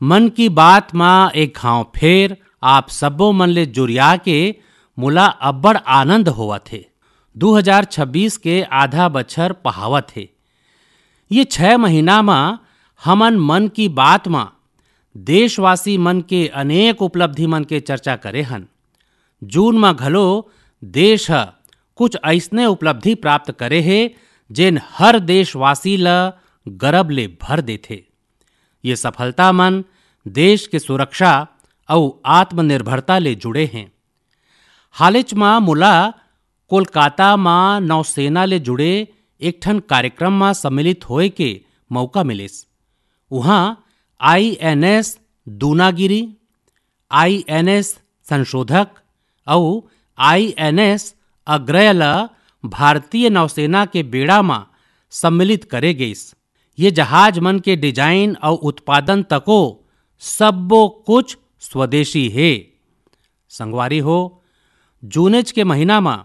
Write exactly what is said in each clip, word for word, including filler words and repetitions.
मन की बात म एक घांव फेर आप सब्बो मन ले जुरिया के मोला अब्बड़ आनंद होवत हे। दू हजार छब्बीस के आधा बछर पहावत हे। ये छह महीना म हमन मन की बात म देशवासी मन के अनेक उपलब्धि मन के चर्चा करे हन। जून म घलो देश ह कुछ अइसने उपलब्धि प्राप्त करे हे, जेन हर देशवासी ल गरब ले भर देथे। ये सफलता मन देश के सुरक्षा अउ आत्मनिर्भरता ले जुड़े हें। हालेच म मोला कोलकाता म नौसेना ले जुड़े एक ठन कार्यक्रम म सम्मिलित होए के मौका मिलिस। उहाँ आईएनएस दूनागिरी, आईएनएस संशोधक अउ आईएनएस अग्रय ल भारतीय नौसेना के बेड़ा म सम्मिलित करे गइस। ये जहाज मन के डिजाइन अउ उत्पादन तको सब्बो कुछ स्वदेशी हे। संगवारी हो, जूनेच के महीना म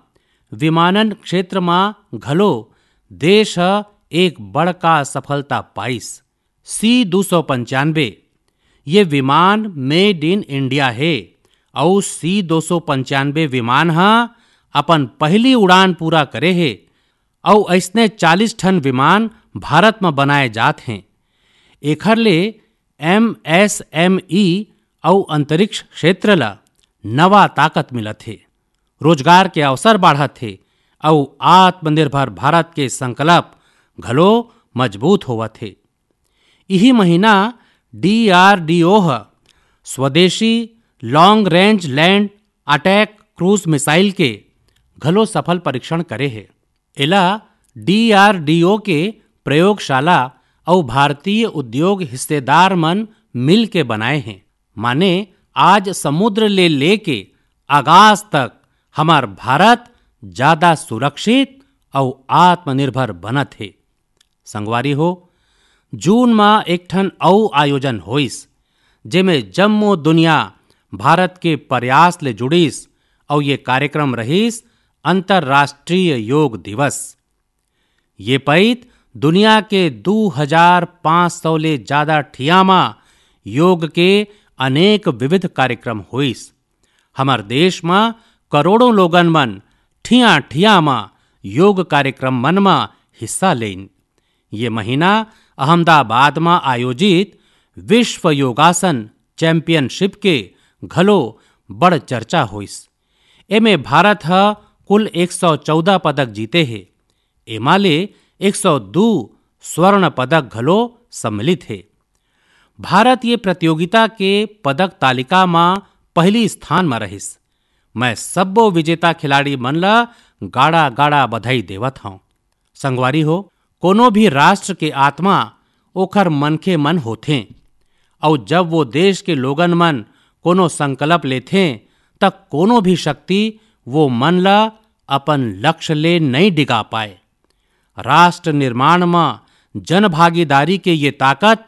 विमानन क्षेत्र म घलो देश ह एक बड़का सफलता पाइस। सी दो सौ पंचानबे, ये विमान made in India हे अउ सी दो सौ पंचानबे विमान ह अपन पहली उड़ान पूरा करे हे अउ अइसने चालीस ठन विमान भारत म बनाए जात हें। एखर ले एमएसएमई अउ अंतरिक्ष क्षेत्र ल नवा ताकत मिलत हे, रोजगार के अवसर बाढ़त हे अउ आत्मनिर्भर भारत के संकल्प घलो मजबूत होवत हे। इही महीना डीआरडीओ ह स्वदेशी long range land attack cruise missile के घलो सफल परीक्षण करे हे। एला डीआरडीओ के प्रयोगशाला अउ भारतीय उद्योग हिस्सेदार मन मिल के बनाए हें। माने आज समुद्र ले लेके आकाश तक हमर भारत ज्यादा सुरक्षित अउ आत्मनिर्भर बनत हे। संगवारी हो, जून म एक ठन अउ आयोजन होइस, जेमे जम्मो दुनिया भारत के प्रयास ले जुड़िस अउ ये कार्यक्रम रहिस अंतर्राष्ट्रीय योग दिवस। ये पइत दुनिया के दू हजार पाँच सौ ले जादा ठिया म योग के अनेक विविध कार्यक्रम होइस। हमर देश म करोड़ों लोगन मन ठिया-ठिया म योग कार्यक्रम मन म हिस्सा लेइन। ये महीना अहमदाबाद म आयोजित विश्व योगासन चैंपियनशिप के घलो बड़ चर्चा होइस। एमे भारत ह कुल एक सौ चौदह पदक जीते हे। एमा ले एक सौ दू स्वर्ण पदक घलो सम्मिलित हे। भारत ये प्रतियोगिता के पदक तालिका म पहली स्थान म रहिस। मैं सब्बो विजेता खिलाड़ी मन ल गाड़ा-गाड़ा बधाई देवत हंव। संगवारी हो, कोनो भी राष्ट्र के आत्मा ओखर मनखे मन होथें, अउ जब वो देश के लोगन मन कोनो संकल्प लेथें, त कोनो भी शक्ति वो मन ल अपन लक्ष्य ले नइ डिगा पाए। राष्ट्र निर्माण म जनभागीदारी के ये ताकत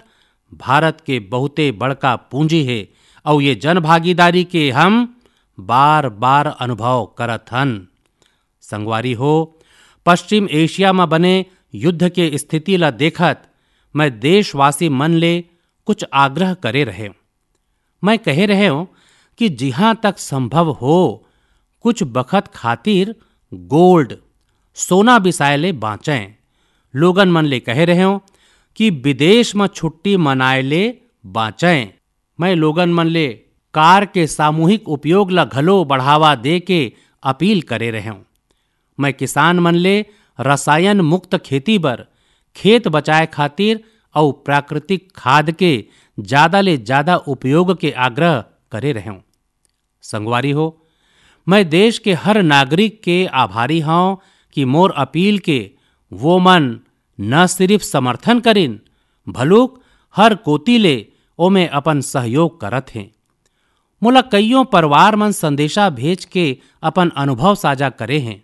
भारत के बहुते बड़का पूंजी हे, अउ ये जनभागीदारी के हम बार-बार अनुभव करत हन। संगवारी हो, पश्चिम एशिया म बने युद्ध के स्थिति ल देखत मैं देशवासी मन ले कुछ आग्रह करे रहेंव। मैं कहे रहेंव कि जिहां तक संभव हो, कुछ बखत खातिर गोल्ड, सोना बिसाए ले बांचें। लोगन मन ले कहे रहेंव कि विदेश म छुट्टी मनाए ले बांचें। मैं लोगन मन ले कार के सामूहिक उपयोग ल घलो बढ़ावा दे के अपील करे रहेंव। मैं किसान मन ले रसायन मुक्त खेती बर, खेत बचाए खातिर अउ प्राकृतिक खाद के जादा ले जादा उपयोग के आग्रह करे रहेंव। संगवारी हो, मैं देश के हर नागरिक के आभारी हंव कि मोर अपील के वो मन न सिरिफ समर्थन करिन, भलुक हर कोति ले ओमे अपन सहयोग करत हें। मोला कइयों परिवार मन संदेशा भेज के अपन अनुभव साझा करे हें।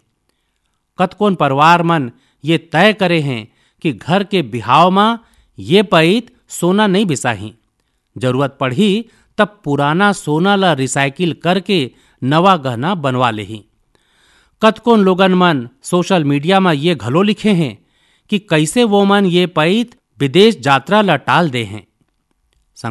कतकोन परिवार मन ये तय करे हें कि घर के बिहाव म ये पइत सोना नइ बिसाही, जरूरत पड़ही तब पुराना सोना ल recycle करके नवा गहना बनवा लेही। कतकोन लोगन मन social media म ये घलो लिखे हें कि कइसे वो मन ये पइत विदेश यात्रा ल टाल दे हें।